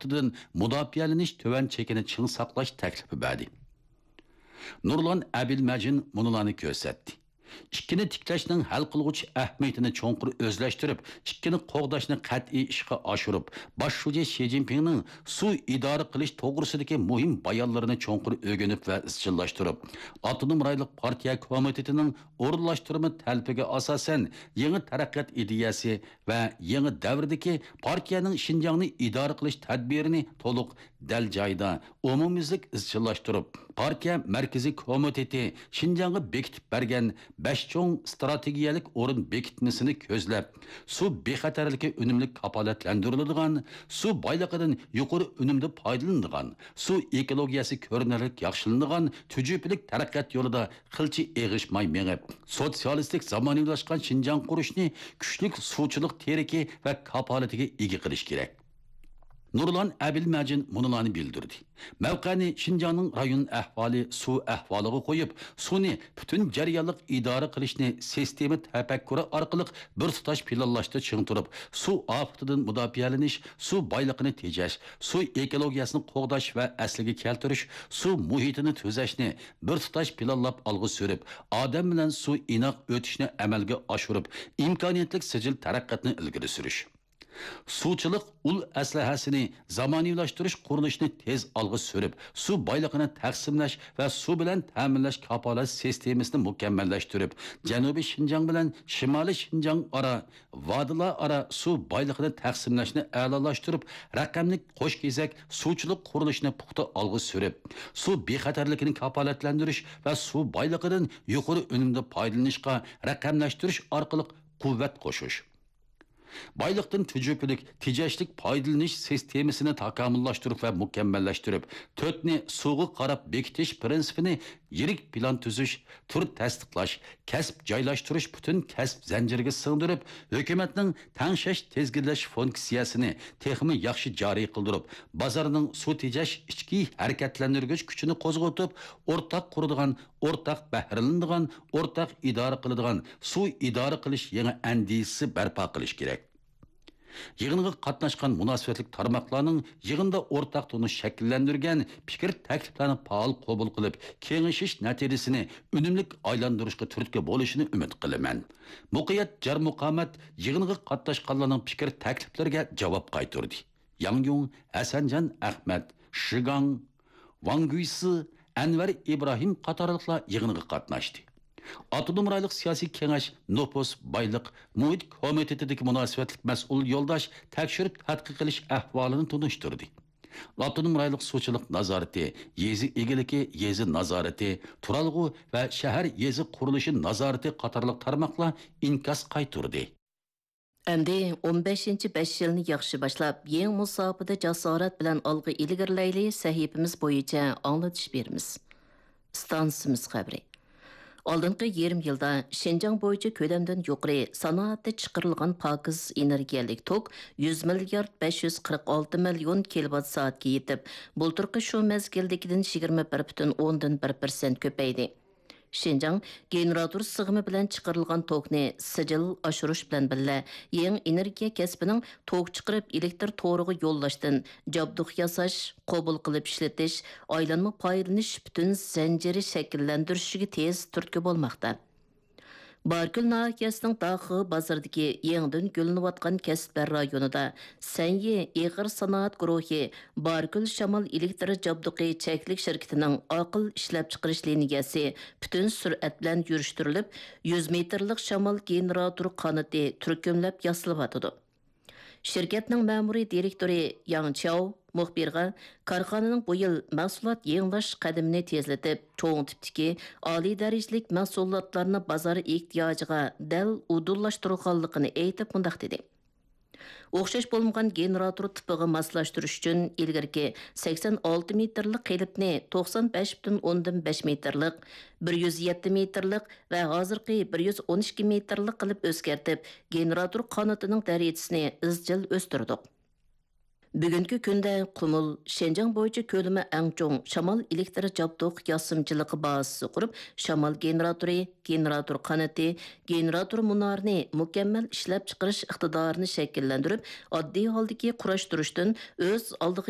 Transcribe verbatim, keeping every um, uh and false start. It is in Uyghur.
ئاپىتىدىن مۇداپىئەلىنىش تۆۋەن چېكىنى چىڭ ساقلاش تەكلىپى بەردى. نۇرلان ئەبىلمەجىن مۇنۇلارنى كۆرسەتتى. ئىككىنى تىكلەشنىڭ ھەل قىلغۇچ ئەھمىيىتىنى چوڭقۇر ئۆزلەشتۈرۈپ، ئىككىنى قوغداشنى قەتئىي ئىشقا ئاشۇرۇپ، باش شۇجى شى جىنپىڭنىڭ سۇ ئىدارە قىلىش توغرىسىدىكى مۇھىم بايانلىرىنى چوڭقۇر ئۆگىنىپ ۋە ئىزچىللاشتۇرۇپ، ئاپتونوم رايونلۇق پارتىيە كومىتېتىنىڭ ئورۇنلاشتۇرما تەلىپىگە ئاساسەن، يېڭى تەرەققىيات ئىدىيەسى ۋە يېڭى دەۋردىكى پارتىيەنىڭ شىنجاڭنى ئىدارە قىلىش تەدبىرىنى تولۇق، دەل جايىدا، ئومۇميۈزلۈك ئىزچىللاشتۇرۇپ، پارتىيە مەركىزىي كومىتېتى شىنجاڭغا بېكىتىپ بەرگەن بەش چوڭ ئىستراتېگىيەلىك ئورۇن بېكىتمىسىنى كۆزلەپ، سۇ بىخەتەرلىكى ئۈنۈملۈك كاپالەتلەندۈرۈلىدىغان، سۇ بايلىقىدىن يۇقىرى ئۈنۈمدە پايدىلىنىدىغان، سۇ ئېكولوگىيەسى كۆرۈنەرلىك ياخشىلىنىدىغان تۈجۈپىلىك تەرەققىيات يولىدا قىلچە ئېغىشماي مېڭىپ، سوتسىيالىستىك زامانىۋىلاشقان شىنجاڭ قۇرۇشنى كۈچلۈك سۇچىلىق تىرىكى ۋە كاپالىتىگە ئىگە قىلىش كېرەك. نۇرلان ئەبىلمەجىن مۇنۇلارنى بىلدۈردى. مەۋقەنى شىنجاڭنىڭ رايون ئەھۋالى، سۇ ئەھۋالىغا قويۇپ، سۇنى پۈتۈن جەريانلىق ئىدارە قىلىشنى سىستېما تەپەككۇرى ئارقىلىق بىر تۇتاش پىلانلاشتا چىڭ تۇرۇپ، سۇ ئاپىتىدىن مۇداپىئەلىنىش، سۇ بايلىقىنى تېجەش، سۇ ئېكولوگىيەسىنى قوغداش ۋە ئەسلىگە كەلتۈرۈش، سۇ مۇھىتىنى تۈزەشنى بىر تۇتاش پىلانلاپ ئالغا سۈرۈپ، ئادەم بىلەن سۇ ئىناق ئۆتۈشنى ئەمەلگە ئاشۇرۇپ، ئىمكانىيەتلىك سىجىل تەرەققىياتنى ئىلگىرى سۈرۈش. سۇچىلىق ئۇل ئەسلىھەسىنى زامانىۋىلاشتۇرۇش قۇرۇلۇشىنى تېز ئالغا سۈرۈپ، سۇ بايلىقىنى تەقسىملەش ۋە سۇ بىلەن تەمىنلەش كاپالەت سىستېمىسىنى مۇكەممەللەشتۈرۈپ، جەنۇبىي شىنجاڭ بىلەن شىمالىي شىنجاڭ ئارا، ۋادىلار ئارا سۇ بايلىقىنى تەقسىملەشنى ئەلالاشتۇرۇپ، رەقەملىك قوش كېزەك سۇچىلىق قۇرۇلۇشىنى پۇختا ئالغا سۈرۈپ، سۇ بىخەتەرلىكىنى كاپالەتلەندۈرۈش ۋە سۇ بايلىقىدىن يۇقىرى ئۈنۈمدە پايدىلىنىشقا رەقەملەشتۈرۈش ئارقىلىق قۇۋۋەت قوشۇش. بايلىقتىن تۈجۈپىلىك، تېجەشلىك پايدىلىنىش سىستېمىسىنى تاكامۇللاشتۇرۇپ ۋە مۇكەممەللەشتۈرۈپ، تۆتنى سۇغا قاراپ بېكىتىش پىرىنسىپىنى يىرىك پىلان تۈزۈش، تۈر تەستىقلاش، كەسىپ جايلاشتۇرۇش پۈتۈن كەسىپ زەنجىرىگە سىڭدۈرۈپ، ھۆكۈمەتنىڭ تەڭشەش، تىزگىنلەش فۇنكسىيەسىنى تېخىمۇ ياخشى جارى قىلدۇرۇپ، بازارنىڭ سۇ تېجەش ئىچكى ھەرىكەتلەندۈرگۈچ كۈچىنى قوزغىتىپ، ئورتاق قۇرىدىغان، ئورتاق بەھرىلىنىدىغان، ئورتاق ئىدارە قىلىدىغان سۇ ئىدارە قىلىش يېڭى ئەندىزىسى بەرپا قىلىش كېرەك. يىغىنغا قاتناشقان مۇناسىۋەتلىك تارماقلارنىڭ يىغىندا ئورتاق تونۇش شەكىللەندۈرگەن پىكىر تەكلىپلەرنى پائال قوبۇل قىلىپ، كېڭىشىش نەتىجىسىنى ئۈنۈملۈك ئايلاندۇرۇشقا تۈرتكە بولۇشىنى ئۈمىد قىلىمەن. مۇقىيەت جار مۇقامەت يىغىنغا قاتناشقانلارنىڭ پىكىر تەكلىپلىرىگە جاۋاب قايتۇردى. ياڭ يۇڭ، ھەسەنجان ئەخمەت، شىگاڭ، ۋاڭ گۈيسى، ئەنۋەر ئىبراھىم قاتارلىقلار يىغىنغا قاتناشتى. ئاپتونوم رايونلۇق سىياسىي كېڭەش نوپۇس، بايلىق، مۇھىت كومىتېتىدىكى مۇناسىۋەتلىك مەسئۇل يولداش تەكشۈرۈپ تەتقىق قىلىش ئەھۋالىنى تونۇشتۇردى. ئاپتونوم رايونلۇق سۇچىلىق نازارىتى، يېزا ئىگىلىكى، يېزا نازارىتى، تۇرالغۇ ۋە شەھەر يېزا قۇرۇلۇشى نازارىتى قاتارلىق تارماقلار ئىنكاس قايتۇردى. ئەمدى ئون بەشىنچى بەش يىلنى ياخشى باشلاپ، يېڭى مۇساپىدە جاسارەت بىلەن ئالغا ئىلگىرىلەيلى سەھىپىمىز بويىچە ئاڭلىتىش بېرىمىز. ئىستانسىمىز خەۋىرى. ئالدىنقى يېرىم يىلدا شىنجاڭ بويىچە كۆلەمدىن يۇقىرى سانائەتتە چىقىرىلغان پاكىز ئېنېرگىيەلىك توك يۈز مىليارد بەش يۈز قىرىق ئالتە مىليون كىلوۋات سائەتكە يېتىپ، بۇلتۇرقى شۇ مەزگىلدىكىدىن يىگىرمە بىر پۈتۈن ئوندىن بىر پىرسەنت كۆپەيدى. شىنجاڭ گېنېراتور سىغىمى بىلەن چىقىرىلغان توكنى سىجىل ئاشۇرۇش بىلەن بىللە، يېڭى ئېنېرگىيە كەسپىنىڭ توك چىقىرىپ ئېلېكتر تورىغا يوللاشتىن جابدۇق ياساش، قوبۇل قىلىپ ئىشلىتىش، ئايلانما پايدىلىنىش پۈتۈن زەنجىرى شەكىللەندۈرۈشىگە تېز تۈرتكە بولماقتا. باركۆل ناھىيەسىنىڭ داخۇ بازىرىدىكى يېڭىدىن گۈللىنىۋاتقان كەسىپلەر رايونىدا سەنيى ئېغىر سانائەت گۇرۇھى باركۆل شامال ئېلېكتر جابدۇقى چەكلىك شىركىتىنىڭ ئاقىل ئىشلەپچىقىرىش لىنىيەسى پۈتۈن سۈرئەت بىلەن يۈرۈشتۈرۈلۈپ، يۈز مېتىرلىق شامال گېنېراتور قانىتى تۈركۈملەپ ياسىلىۋاتىدۇ. شىركەتنىڭ مەمۇرىي دىرېكتورى ياڭ چياۋ مۇخبىرغا كارخانىنىڭ بۇ يىل مەھسۇلات يېڭىلاش قەدىمىنى تېزلىتىپ، چوڭ تىپتىكى ئالىي دەرىجىلىك مەھسۇلاتلارنى بازار ئېھتىياجىغا دەل ئۇدۇللاشتۇرغانلىقىنى ئېيتىپ مۇنداق دېدى. ئوخشاش بولمىغان گېنېراتور تىپىغا ماسلاشتۇرۇش ئۈچۈن ئىلگىرىكى سەكسەن ئالتە مېتىرلىق قېلىپنى توقسان بەش پۈتۈن ئوندىن بەش مېتىرلىق، بىر يۈز يەتتە مېتىرلىق ۋە ھازىرقى بىر يۈز ئون ئىككى مېتىرلىق قىلىپ ئۆزگەرتىپ، گېنېراتور قانىتىنىڭ دەرىجىسىنى ئىزچىل ئۆستۈردۇق. بۈگۈنكى كۈندە قۇمۇل شىنجاڭ بويىچە كۆلىمى ئەڭ چوڭ شامال ئېلېكتر جابدۇق ياسىمىچىلىقى بازىسى قۇرۇپ، شامال گېنېراتورى، گېنېراتور قانىتى، گېنېراتور مۇنارىنى مۇكەممەل ئىشلەپچىقىرىش ئىقتىدارىنى شەكىللەندۈرۈپ، ئاددىي ھالدىكى قۇراشتۇرۇشتىن ئۆز ئالدىغا